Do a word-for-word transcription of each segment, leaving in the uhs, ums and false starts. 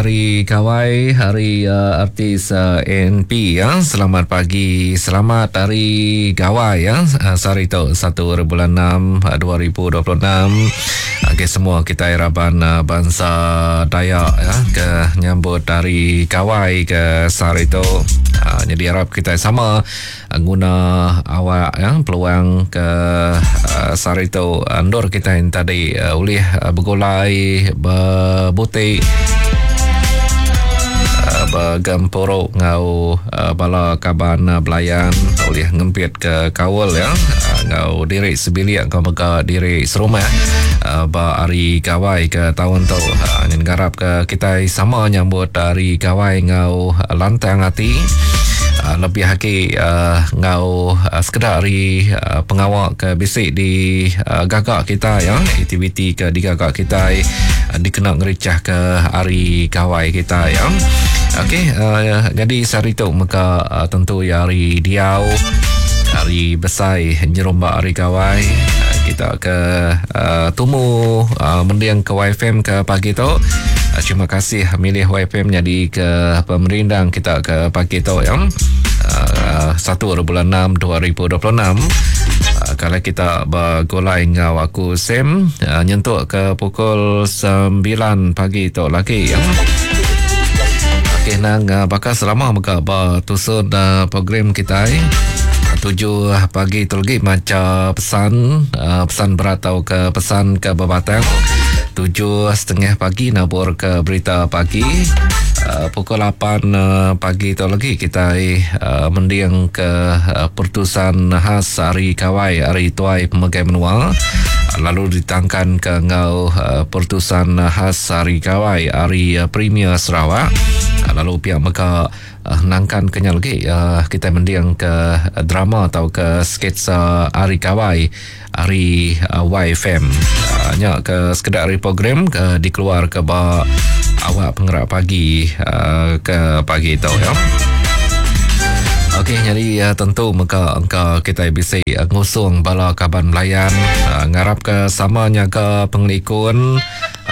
Hari Gawai hari uh, artis uh, A N P ya. Selamat pagi, selamat Hari Gawai ya. Uh, sehari tu satu bulan enam dua ribu dua puluh enam. Okey, semua kita raban uh, bangsa Dayak ya ke nyambut Hari Gawai ke sehari tu. Uh, jadi harap kita sama uh, guna awak ya peluang ke uh, sehari tu andur kita yang tadi uh, ulih uh, bergulai berbutik uh, bergempuruk ngau uh, bala kaban uh, belayan oleh ngempit ke kaul ya uh, ngau diri sebilik ngau mega diri serumah uh, ba hari gawai ke tahun tu. Uh, ngarap ke kita sama nyambut hari gawai ngau lantang hati. Uh, lebih lagi uh, ngau uh, sekedar hari uh, pengawak ke bisik di uh, gagak kita ya, aktiviti ke di gagak kita uh, dikena ngericah ke hari gawai kita ya. Okey, uh, jadi sehari tu maka uh, tentu ya hari diau, hari besai nyerombak hari gawai. Uh, kita ke uh, tumu uh, mendiang ke Y F M ke pagi tu. Uh, terima kasih milih Y F M jadi ke pemerindang kita ke pagi tu ya. Uh, satu bulan enam dua ribu dua puluh enam. Uh, kalau kita bergulai ngau aku Sam uh, nyentuk ke pukul sembilan pagi tu lagi ya. Okey, nang uh, bakal selama mega bertusun uh, program kita eh. Tujuh pagi tu lagi maca pesan, uh, pesan berat atau ke pesan ke berbatang. Tujuh setengah pagi nabur ke berita pagi. Uh, pukul lapan uh, pagi tu lagi kita uh, mendiang ke uh, pertusan khas Hari Gawai Hari Tuai Pemegai Menua. Uh, lalu ditangkan ke ngau uh, pertusan khas Hari Gawai Hari uh, Premier Sarawak. Uh, lalu pihak mereka uh, nangkan kenyal lagi uh, kita mendiang ke uh, drama atau ke sketsa Hari Gawai Hari uh, Y F M. Uh, nyak ke sekedar hari program ke dikeluar ke ba awak penggerak pagi uh, ke pagi tu ya. Okey, jadi uh, tentu maka engkau kita bisa uh, ngusung bala kaban melayan uh, ngarap ke samanya ke pengelikun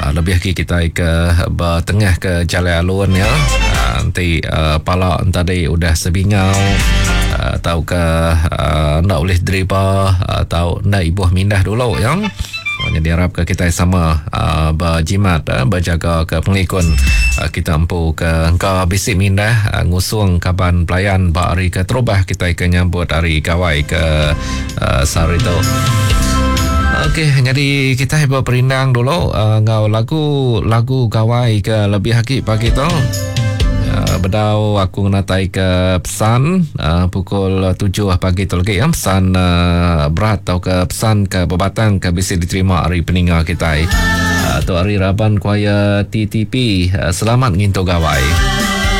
uh, lebih lagi kita ke bertengah ke jalan alun ya. Uh, nanti uh, pala tadi udah sebingau atau uh, ke uh, nak boleh driba atau uh, nak ibuh mindah dulu ya. Jadi harap ke kita sama uh, berjimat uh, berjaga ke pengelikun uh, kita empu ke engkau bisik mindah uh, ngusung kaban pelayan bak hari ke terubah kita ke nyambut hari gawai ke uh, sehari tu. Okey, jadi kita berperindang dulu uh, ngau lagu lagu gawai ke lebih hakik pagi tu. Uh, bedau aku ngatai ke pesan uh, pukul tujuh pagi tu lagi ya, pesan uh, berat atau ke pesan ke berbatang ke bisa diterima hari peninga kita. Uh, tu hari Raban Kuaya T T P. Uh, selamat ngintu gawai.